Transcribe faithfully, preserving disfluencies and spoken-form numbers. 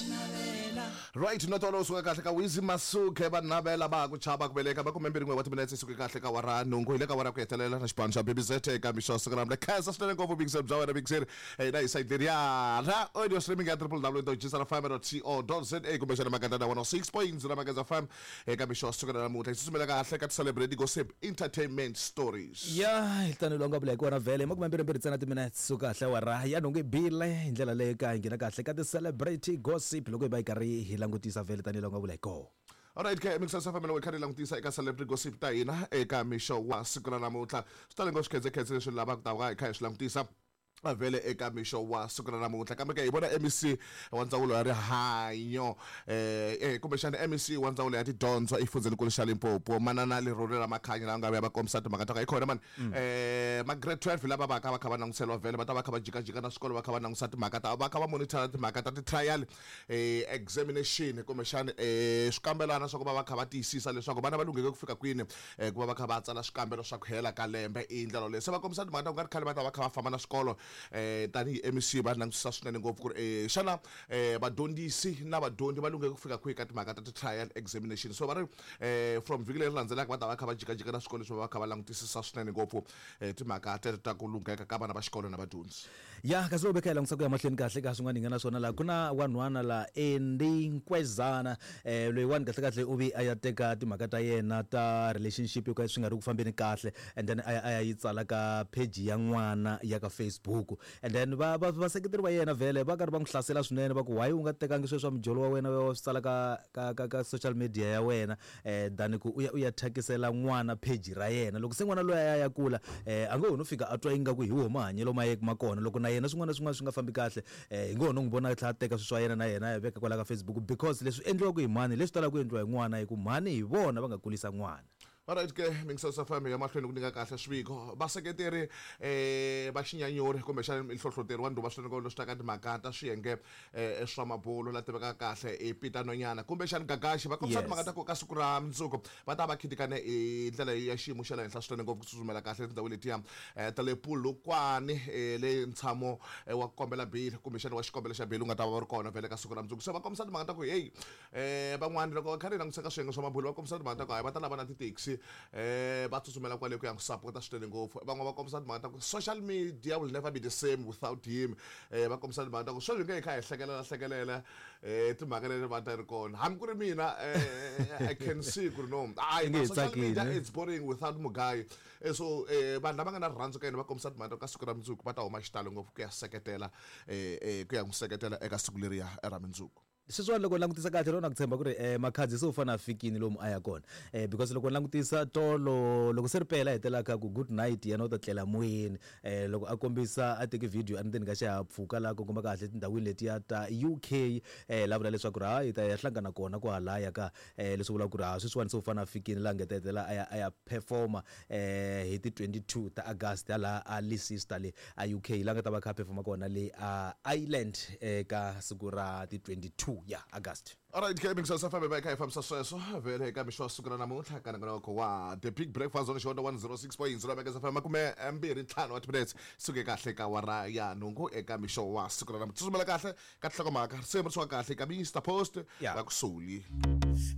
Yes. Right, no tolo suka kahle ka Wizi Masuke va navela va ku chava ku veleka va kume mbirhi n'we wa timinetse suke kahle ka wara nhungu hi le ka wara ku hetelela na xipano xa B B Z eka mixo siku ra khensa swinene ngopfu big bya wena big hina hi site leriya ra audio streaming ya w w w dot g s r f m dot co dot z a kumbexana Magandana one oh six point zero Magandana F M eka mixo siku ra namuntlha hi susumela kahle ka ti-celebrity gossip entertainment stories. Ya hi tani longa vula hi kona vhele makume mbirhi mbirhi ntsena timinetse suka kahle wara ya nhungu i bile hi ndlela leyi ka hi nghena kahle ka ti-celebrity gossip loko hi va hi karhi hi langutisa vhele tanihi loko nga vula hi kona. Alright, ke mixo sa family kha ri langutisa eka celebrity gossip ta hina eka mixo wa siku ra namuntlha. Swi tale ngopfu swikhedzekhedze leswi lavaka ku ta va hi kha hi swi langutisa vhele eka mixo wa siku ra namuntlha. Kambe ke hi vona M E C wa ndzawulo ya rihanyo eh eh kumbexana M E C wa ndzawulo ya tidyondzo exifundzhenikulu xa Limpopo manana Leruri Ramakhanya lava nga vuya va kombisa timhaka ta ka hi khona mani eh ma grade twelve lava va ka va kha va langutiseriwa vhele va ta va kha va jikajika na swikolo va kha va langutisa timhaka ta va kha va monitor timhaka ta ti-trial eh examination kumbexana eh swikambelana swa ku va va kha va tiyisisa leswaku vana va lungheke ku fika kwini eh ku va va kha va tsala swikambelo swa ku hela ka lembe i ndlela leyi se va kombisa timhaka ta ku nga ri khale va ta va kha va famba na swikolo eh tanihi M E C va langutisa swinene ngopfu ku ri eh xana eh vadyondzisi na vadyondzi va lungheke ku fika kwihi ka timhaka ta ti-trial examination. So va ri eh from vhiki leri landzelaka va ta va kha va jikajika na swikolo leswi va va kha va langutisisa swinene ngopfu eh timhaka teto ta ku lungheka ka vana va xikolo na vadyondzi. Ya kasi loko veka hi langutisa ku ya mahlweni kahle ka swin'wana hi nga na swona laha ku na wanhwana la Andy Nkwezana eh loyiwani kahle kahle u vi a ya teka timhaka ta yena ta relationship yo ka swi nga ri ku fambeni kahle and then a ya a ya yi tsala ka page ya n'wana ya ka Facebook and then va va vaseketeri va yena vhele va karhi va n'wi hlasela swinene va ku why u nga tekangi sweswo swa mijolo wa wena wa swi tsala ka ka ka ka social media ya wena eh than ku u ya u ya thyakisela n'wana page ra yena loko se n'wana loyi a ya ya kula eh a ngo ho no fika a twa ingaku hi woho mahanyelo ma ye ma kona loko na yena swin'wana na swin'wana swi nga fambi kahle eh hi ngo ho no n'wi vona a tlhela a teka swilo swa yena na yena a ya veka kwala ka Facebook because leswi endliwaka hi mhani leswi talaka ku endliwa hi n'wana hi ku mhani hi vona va nga kulisa n'wana. Alright ke mixo sa family ya mahlweni ku nyika kahle swiviko vaseketeri eh va xinyanyuri kumbexana nhlohloteri wa ndhuva swinene leswi taka timhaka ta swiyenge eh swa mabulo la tivekaka kahle i Peter Nonyana kumbexana Gagashi va kombisa timhaka ta ku ka siku ra mundzuku va ta va khitikane hi ndlela ya xiyimo xa le henhla swinene ngopfu ku tsutsumela kahle etindhawini letiya ta le Polokwane le ntshamo wa ku kombela beli kumbexana wa xikombelo xa beli u nga ta va va ri kona vhele ka siku ra mundzuku. Se va kombisa timhaka ta ku heyi eh van'wani loko va kha ri langutisa ka swiyenge swa mabulo va kombisa timhaka ta ku hayi va ta lava na ti-taxi eh va tsutsumela kwale ku ya n'wi sapota swinene ngopfu. Van'wana va kombisa timhaka ta ku social media will never be the same without him. Eh va kombisa timhaka ta ku sweswi hi nge hi kha hi hlekelela hlekelela eh timhaka leti va ta ri kona hambi ku ri mina eh I can see ku ri no hayi Nge social media tsakile. it's boring without Mugayi. Eh so eh vanhu lava nga na rirhandzu ka yena va kombisa timhaka ta ku ka siku ra mundzuku va ta huma xitalo ngopfu ku ya seketela eh eh ku ya n'wi seketela eka siku leriya ra mundzuku. Sweswiwani loko langutisa kahle loko na ku tshemba ku ri eh Makhadzi se u fanele a fikini lomu a ya kona eh because loko langutisa tolo loko se ri pela hetelaka ku good night yena u ta tlela moyeni eh loko a kombisa a teke video endzeni ka xihahampfhuka laha ku komba kahle tindhawini letiya ta U K eh la vula leswaku ri hayi ta ya hlangana kona kwahalaya ka eh leswi vulaka ku ri ha sweswiwani se u fanele a fikini laha nga ta hetelela a ya a ya performa eh hi ti twenty-two ta August laha a Leicester le a U K laha nga ta va kha a performa kona le a Ireland eka siku ra ti twenty-two ya August. Alright, ke mixo sa family ba kha fambisa sweswo vhele eka mixo wa siku ra namuntlha ka nongonoko wa The Big Breakfast on Xihondzo one oh six point zero Mageza F M makume mbirhi ntlhanu wa timinetse suke kahle ka wara ya nhungu eka mixo wa siku ra namuntlha. Tsutsumela kahle ka tinhlokomhaka risimu ri suka kahle ka Mister Post Yeah. va ku Soli.